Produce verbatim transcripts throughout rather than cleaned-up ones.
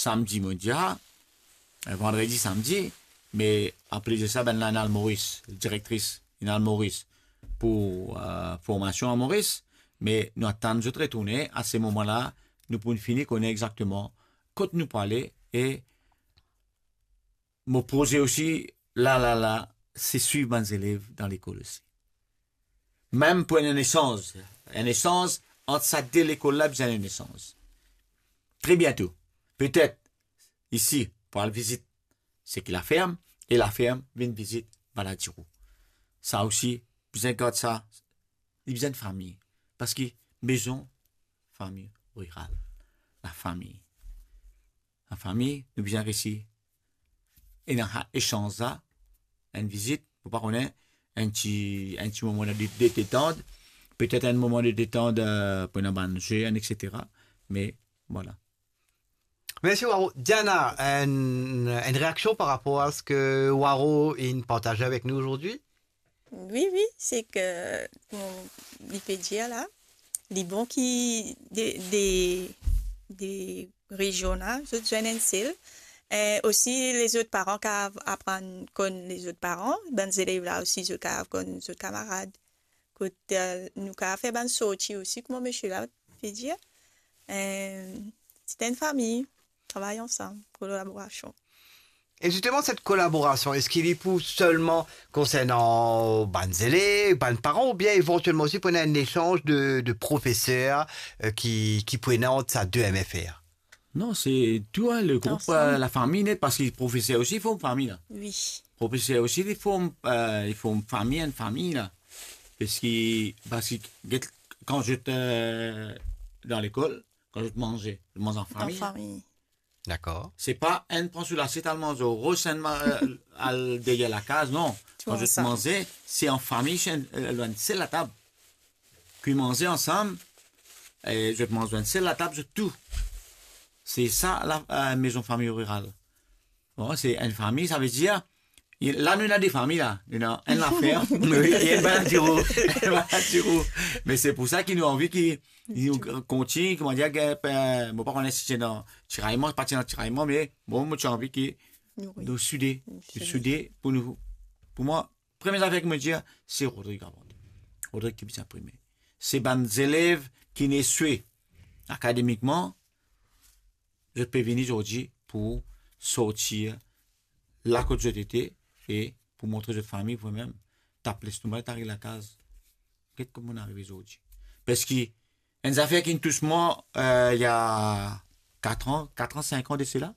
samdi, mo dir, ah, eh, vandredi, samdi, me anplis de sa, bannla inn al Moris, direktris, inn al Moris pou, eh, formasion a Moris, me nou atann zot retourne, a se moman la, nou pou fini kone exakteman kot nou pou ale, e mo proze osi, la, la, la, se swiv bann zelev dan lekol osi. Mem pou enn esanz, enn esanz ant sa de lekol la, bizin enn esanz. Tre biento, petet, isi, pou al vizit seki Laferm, e Laferm vinn vizit Baladiro. Sa osi, bizin gard sa, li bizin fami. Parski mezon fami riral, lafami. Lafami, nou bizin resi ena sa esanz la, enn vizit, pou pa kone, enn ti, enn ti moman de, de detant, petet enn moman de detant, eh, pou ena bann ze, enn et cetera. Me, vwala. Mersi, Waro. Diana, enn, enn reaksion par rapor a seki Waro inn partaze avek nou azordi? Wi, wi, seki, kouma li pe dir la, li bon ki de, de, de rezion la, zot zwenn enn sel. Eh, osi, lezot paran kav aprann konn lezot paran, bann zelev la osi, zot kav konn zot kamarad. Kot, eh, nou kav fer bann sorti osi, kouma misie la pe dir. Eh, se enn fami, travay ansam, kolaborasion. E zisteman, set kolaborasion, eski li pou selman konsernan bann zelev, bann paran, oubien evantielman osi pou ena enn esanz de, de profeser, eh, ki, ki pou ena ant sa de M F R? Non, se tou, hein, le group, ansam, eh, lafami net, parski profeser osi, li form fami la. Wi. Profeser osi, li form, eh, li form fami, enn fami la. Parski, parski, get, kan zot, eh, dan lekol, kan zot manze, zot manz an fami. An fami. Dakor. Se pa enn pran so lasiet, al manz, ros enn ma-, eh, al deryer lakaz, non. Tou ansam. Kan zot manze, se an fami, se enn, eh, lor enn sel latab. Kwi manze ansam, e zot manz lor enn sel latab, zot tou. Se sa la, eh, mezon fami riral. Bon, se enn fami, savedir, la nou ena de fami la, nou ena enn Laferm, e enn Baladiro. Enn Baladiro. Me se pou sa ki nou anvi ki nou kontign, kouma dir, eh, mo pa kone si ti ena tirayman, pa ti ena tirayman, me bon, mo ti anvi ki nou soude, nou soude pou nou, pou mwa, premie zafer ki mo dir, se Rodrig avan tou. Rodrig ki bizin prime. Se bann zelev ki'nn eswe akademikman, zot pe vini zordi pou sorti la kot zot ete e pou montre zot fami, vremem, tap lestomak, tap ariv lakaz. Get kouma nou arive zordi. Parski enn zafer ki'nn tous mwa, eh, il y a quatre ans, quatre ans, cinq ans de cela,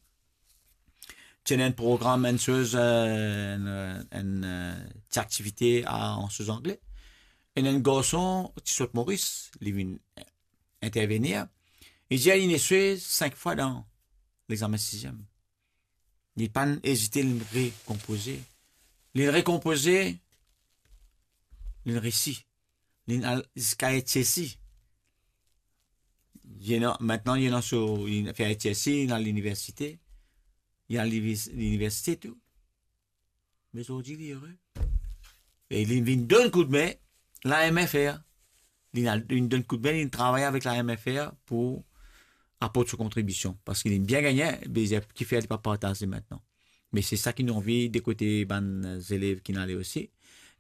ti ena enn program, enn soz, eh, enn, enn, eh, ti aktivite a, an soz angle. Enn, enn garson ti sot Moris, li vinn, eh, intervenir. Li dir li'nn eswe sink fwa dan lexamen siziem. Li pa'nn ezite, li'nn rekonpoze. Li'nn rekonpoze, li'nn resi. Li'nn al ziska HSC. Li ena, mintnan, li ena so, li fer HSC, li al liniversite. Li al livi-, liniversite tou. Me zordi, li ere. E li vinn donn koudme la M F R. Li al, li donn koudme, li travay avek la M F R pou aport so kontribision. Parski li bien gagne, be, kifer li pa partaze mintnan. Me se sa ki nou anvi de kote bann zelev ki'nn ale osi,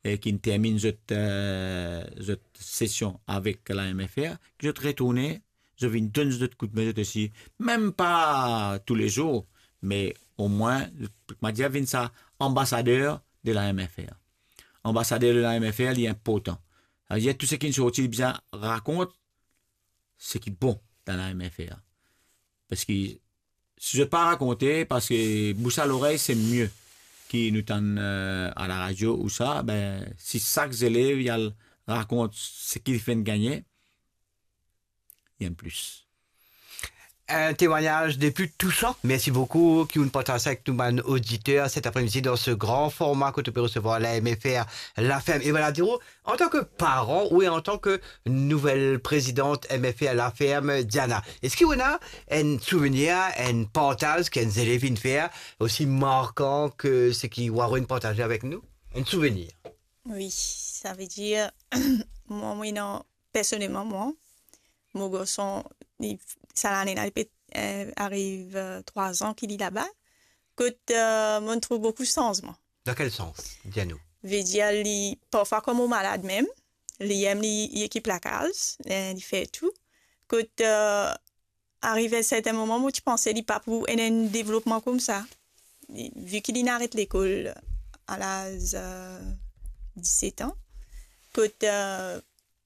e ki'nn terminn zot, eh, zot sesion avek la M F R, ki zot retourne, zot vinn donn zot koudme zot osi, mem pa toulezour, me omwin, kouma dir, vinn sa anbasader de la M F R. Anbasader de la M F R, li inportan. Savedir tou seki sorti, li bizin rakont seki bon dan la M F R. Parski si zot pa rakonte, parski bous a lorey se mie ki nou tann, eh, a laradio ou sa, be, si sak zelev li al rakont seki li finn gagne, li enn plis. Enn temwagnaz de pli tousan. Mersi boukou ki ou'nn partaz avek nou bann oditer set apremidi dan se gran forma kot ou pe resevwar la M F R, Laferm e Baladiro. Antan ki paran ou antan ki nouvel prezidant M F R Laferm, Diana, eski ou ena enn souvenir, enn partaz ki enn zelev inn fer osi markan ki seki Waro inn partaze avek nou? Enn souvenir? Wi, savedir, mwa, mwa, non, personelman, mwa, mo garson, li, sa lane la, li pe eh, ariv, eh, trwa zan ki li laba, kot, eh, mo'nn trouv boukou sanzman. Dan kel sans? Dir nou. Vedir li, parfwa kan mo malad mem, li mem li, li ekip lakaz, eh, li fer tou. Kot, eh, arive sertin moman, mo ti panse li pa pou ena enn devlopman koumsa. Li, vi ki li'nn aret lekol a laz, eh, diset an, kot, eh,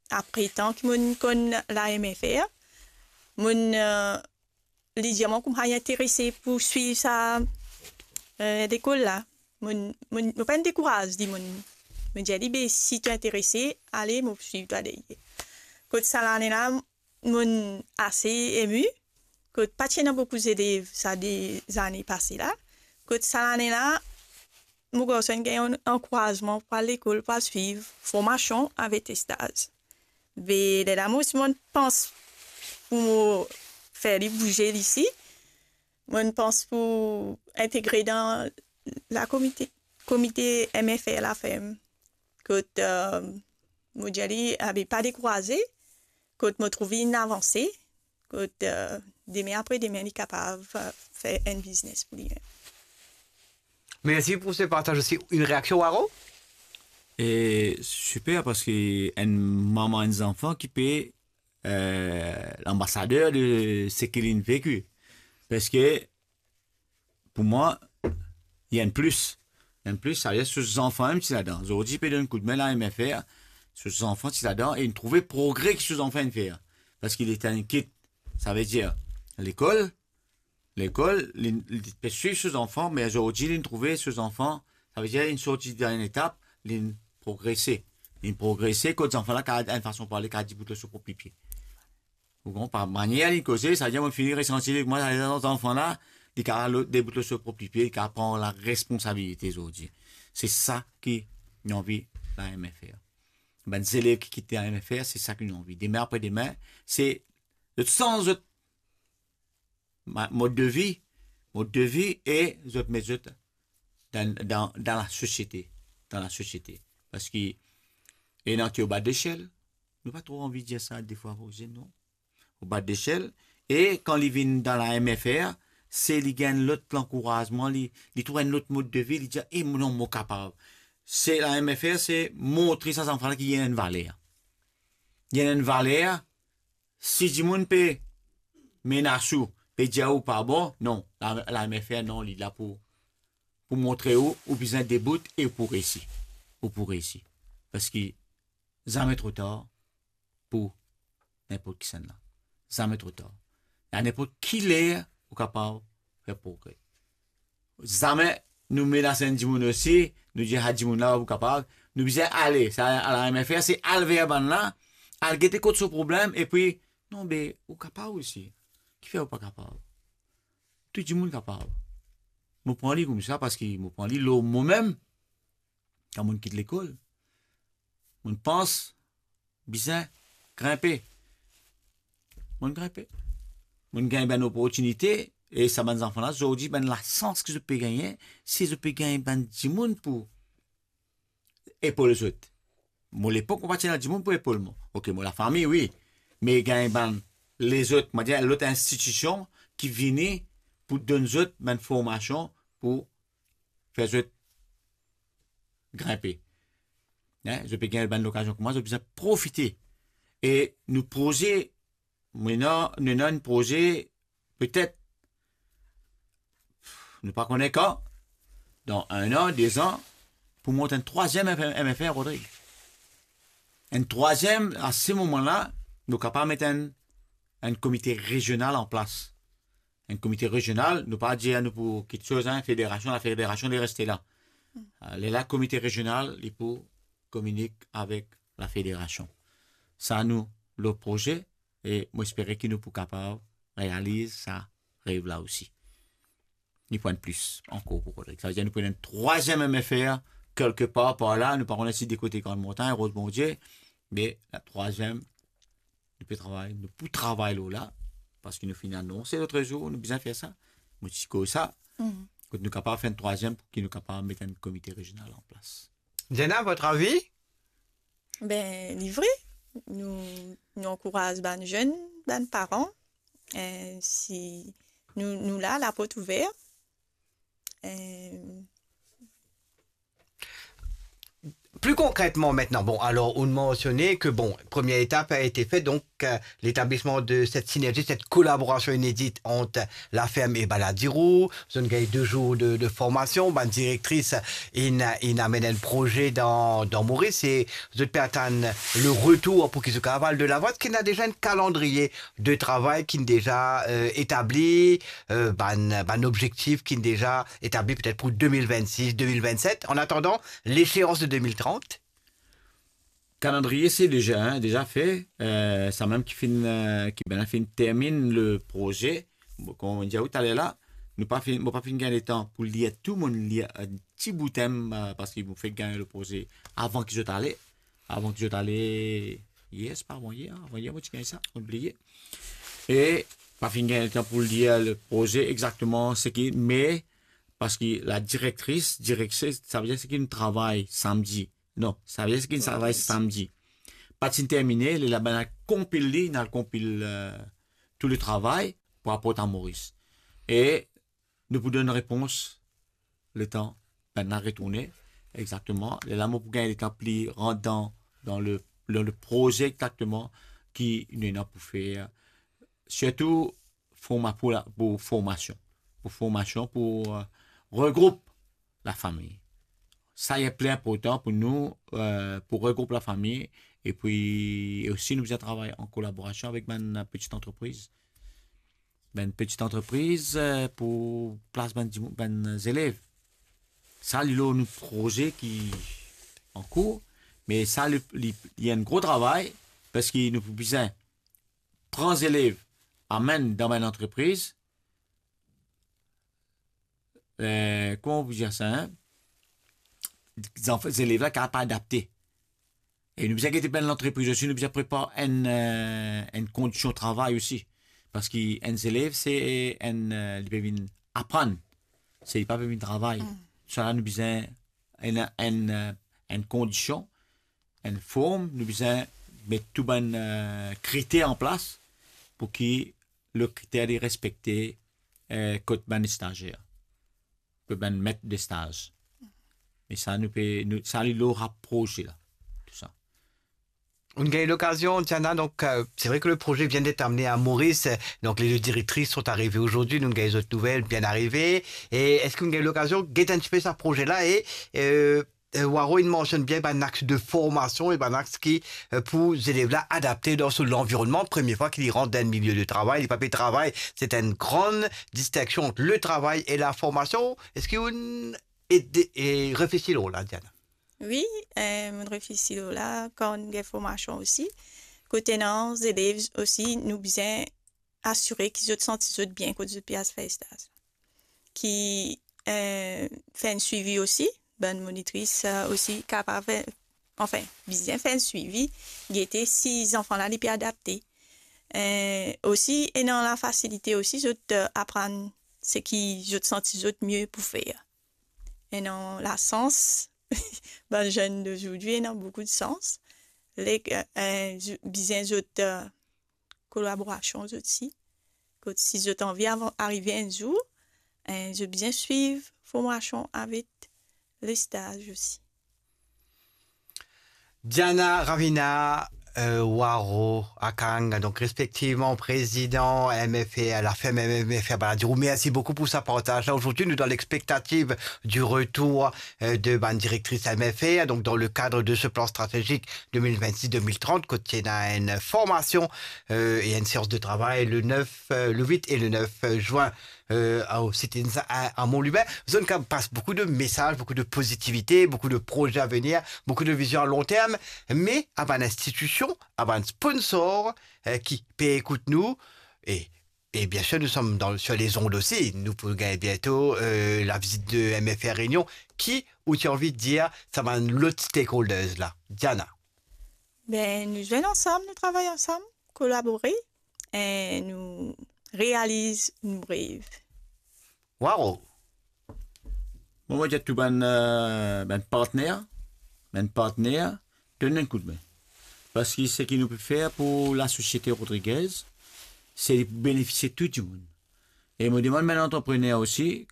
apre tan ki mo'nn konn la M F R, mo'nn, eh, li dir mwa kouma li interese pou swiv sa, eh, lekol la. Mo'nn, mo'nn, mo pa'nn dekouraz li, mo'nn, mo dir li, "Be, si to interese, ale, mo swiv twa deryer." Kot sa lane la, mo'nn ase emi, kot pa ti ena boukou zelev sa de zane pase la. Kot sa lane la, mo garson inn gagn ankourazman pou al lekol, pou al swiv formasion avek staz. Be lerla mo osi mo'nn pans pou mo fer li bouze li isi. Mo'nn pans pou integre dan la komite, komite M F R laferm. Kot, eh, mo dir li, "Abe, pa dekouraze." Kot mo trouv li inn avanse, kot, eh, demin apre demin li kapav, eh, fer enn biznes pou li mem. Mersi pou se partaz osi. Enn reaksion, Waro? E siper, parski enn mama, enn zanfan ki pe, eh, lanbasader de seki li'nn veki. Parski pou mwa, li enn plis. Enn plis, savedir so zanfan mem ti ladan. Zordi pe donn koudme la M F R, so zanfan ti ladan e li'nn trouve progre ki so zanfan inn fer. Parski li ti inn kit, savedir lekol, lekol, li, li pe swiv so zanfan, me zordi li'nn trouve so zanfan, savedir li'nn sorti dan enn etap, li'nn progrese. Li'nn progrese, kot zanfan la kapav, enn fason parle, kapav debout lor so prop lipie. Ou konpran, par manier li'nn koze, savedir mo'nn fini resanti li, kouma sa zanfan la, li kapav debout lor so prop lipie, li kapav pran laresponsabilite zordi. Se sa ki nou anvi la M F R. Bann zelev ki kit la M F R, se sa ki nou anvi. Demin apre demin, se zot sanz zot ma-, mod de vi, mod de vi e zot met zot dan, dan, dan lasosiete, dan lasosiete. Parski ena ki oba desel, nou pa tro anvi dir sa defwa, non? Oba desel, e kan li vinn dan la M F R, se li gagn lot lankourazman, li, li trouv enn lot mod de vi, li dir, "E non, mo kapav." Se la M F R, se montre sa zanfan la ki li ena enn valer. Li ena enn valer, si dimoun pe menas ou, pe dir ou pa bon, non, la, la M F R, non, li la pou, pou montre ou, ou bizin debout e ou pou reysi. Ou pou reysi. Parski zame tro tar pou ninport kisannla. Zame tro tar. A ninport ki ler ou kapav fer progre. Zame nou menas enn dimoun osi, nou dir, "Ah, dimoun la, ou kapav." Nou bizin ale, sa, a la M F R, se al ver bann la, al gete kot so problem, epi, "Non, be, ou kapav osi. Kifer ou pa kapav? Tou dimoun kapav." Mo pran li koumsa, parski mo pran li lor momem, kan mo'nn kit lekol. Mo'nn pans bizin grinpe. Mo'nn grinpe. Mo'nn gagn bann loportinite, e sa bann zanfan la, zordi, bann lasans ki zot pe gagne, si zot pe gagn bann dimoun pou epol zot. Mo lepok, mo pa ti ena dimoun pou epol mwa. Ok, mo lafami, wi. Me gagn bann lezot, mo dir, lot institision ki vini pou donn zot bann formasion pou fer zot grinpe. Hein? Zot pe gagn bann lokazion kouma, zot bizin profite. E nou proze, nou ena, nou ena enn proze, petet, nou pa kone kan, dan enn an, de zan, pou mont enn trwaziem M F R, Rodrig. Enn trwaziem, a se moman la, nou kapav met enn, enn komite rezional an plas. Enn komite rezional, nou pa dir nou pou kiksoz, hein, federasion, lafederasion, li reste la. Euh, lerla komite rezional, li pou kominik avek lafederasion. Sa nou, lor proze, e mo espere ki nou pou kapav realiz sa rev la osi. Ni pou enn plis ankor pou Rodrig. Savedir nou pou ena enn trwaziem M F R, kelkepar par la, nou pa kone si de kote Grande Montagne, Rose Bondieu, me la trwaziem, nou pe travay, nou pou travay lor la, parski nou finn anonse lot zour, nou bizin fer sa, mo ti koz sa, kot nou kapav fer enn trwaziem, pou ki nou kapav met enn komite rezional an plas. Diana, votre avis? Ben, li vre, nou, nou ankouraz bann zenn, bann paran, eh, si nou, nou la, laport ouver. Eh, Plus concrètement maintenant, bon, alors, on mentionnait que, bon, première étape a été faite, donc, euh, l'établissement de cette synergie, cette collaboration inédite entre la ferme et Baladiro. Zot inn gagn de zour de, de formasion, bann direktris inn, inn amenn enn proze dan, dan Moris e zot pe atann le retour pou ki zot kapav al de lavan. Eski ena deza enn kalandriye de travay ki inn deza, euh, etabli, euh, bann, bann objektif ki inn deza etabli petet pou de mil vennsis, de mil vennset, an atandan leseans de de mil trant? Kalandriye, se deza, hein, deza fe. Euh, samem ki finn, euh, ki bann la finn terminn le proze. Bon, kouma mo dir ou taler la, nou pa finn, mo pa finn gagn letan pou lir tou, mo inn lir enn ti bout, euh, parski mo fek gagn le proze avan ki zot ale. Avan ki zot ale, yer, se pa avan yer, avan yer, mo ti gagn sa, mo bliye. E pa finn gagn letan pou lir le proze exakteman seki, me parski la direktris, direktris, savedir seki nou travay samdi. Non, savedir seki nou travay samdi. Pa ti termine, lerla bann la konpil li, inn al konpil, euh, tou le travay pou aport a Moris. E nou pou donn repons letan bann la retourne, exakteman. Lerla mo pou gagn letan pli rant dan, dan le, dan le proze exakteman ki nou ena pou fer. Sirtou, forma-, pou la, pou formasion. Pou formasion, pou, euh, regroup lafami. Sa, li pli inportan pou nou, euh, pou regroup lafami. E pi, e osi, nou bizin travay an kolaborasion avek bann, euh, peti antrepriz. Bann peti antrepriz, euh, pou plas bann dimou-, bann zelev. Sa, li lor nou proze ki an kour, me sa, li, li, li enn gro travay, parski nou pou bizin pran zelev, amenn dan bann antrepriz, euh, kouma pou dir sa, hein? Zanf-, zelev la kapav adapte. E nou bizin gete bann lantrepriz osi, nou bizin prepar enn, euh, enn kondision travay osi. Parski enn zelev, se enn, euh, li pe vinn aprann. Se, li pa pe vinn travay. Sa la, nou bizin enn, enn, euh, enn kondision, enn form, nou bizin met tou bann, euh, kriter an plas pou ki le kriter li respekte, euh, kot bann stazier, kot bann met de staz. E sa, nou pe, nou, sa, li lor proze la, tou sa. Ou gagn lokazion, Diana, donc, euh, c'est vrai que le projet vient d'être amené à Maurice, euh, donc les deux directrices sont arrivées aujourd'hui, nou gagn zot nouvel, bien arrivé. E eski ou gagn lokazion get enn tipe sa proze la e, euh, euh, Waro, inn mansionn bien bann ax de formasion e bann ax ki, euh, pou zelev la adapte dan so lanvironnman. Premie fwa ki li rant dan enn milie de travay, li pa pe travay, se enn gran distinksion ant le travay e la formasion. Eski ou inn ede, e reflesi lor la, Diana? Wi, eh, mo reflesi lor la, kan nou gagn formasion osi. Kot ena zelev osi, nou bizin asire ki zot santi zot bien kot zot pe al fer staz. Ki, eh, fer enn swivi osi, bann monitris, eh, osi kapav, eh, anfin, bizin fer enn swivi, gete si zanfan la, li pe adapte. Eh, osi, ena lafasilite osi, zot, eh, aprann seki zot santi zot mie pou fer. Ena lasans, bann zenn d'aujourd'hui ena boukou de sans. Le, eh, zo-, bizin zot, eh, kolaborasion zot si. Kot si zot anvi avan, arive enn zour, eh, zot bizin swiv formasion avek le staz osi. Diana, Ravina, euh, Waro, Akang, donc respectivement président M F R, la ferme M F R Baladiro. Merci beaucoup pour ce partage-là. Aujourd'hui, nous dans l'expectative du retour, euh, de bann direktris M F R, donc dans le cadre de ce plan stratégique deux mille vingt-six deux mille trente, kot ena enn formasion, euh, e enn seans de travay le neuf, euh, le huit et le neuf juin euh, au Citizens à, à Mont-Lubin. Zot inn kapav pas boukou de mesaz, boukou de pozitivite, boukou de proze a venir, boukou de vizion a lon term, me a bann institision, a bann sponsor, euh, ki pe ekout nou, e, e bien sir, nou som dan, sur les ondes osi, nou pou gagn biento, euh, la vizit de M F R Réunion, ki ou ti anvi dir sa bann lot stakeholders la, Diana? Ben, nou zwenn ansam, nou travay ansam, kolabore, e nou realiz nou rev. Waro! Mo, mo dir tou bann, euh, bann partner, bann partner, donn nou enn koudme. Parski seki nou pe fer pou lasosiete Rodriguez, se li pou benefisie tou dimoun. E mo demann bann antreprener osi,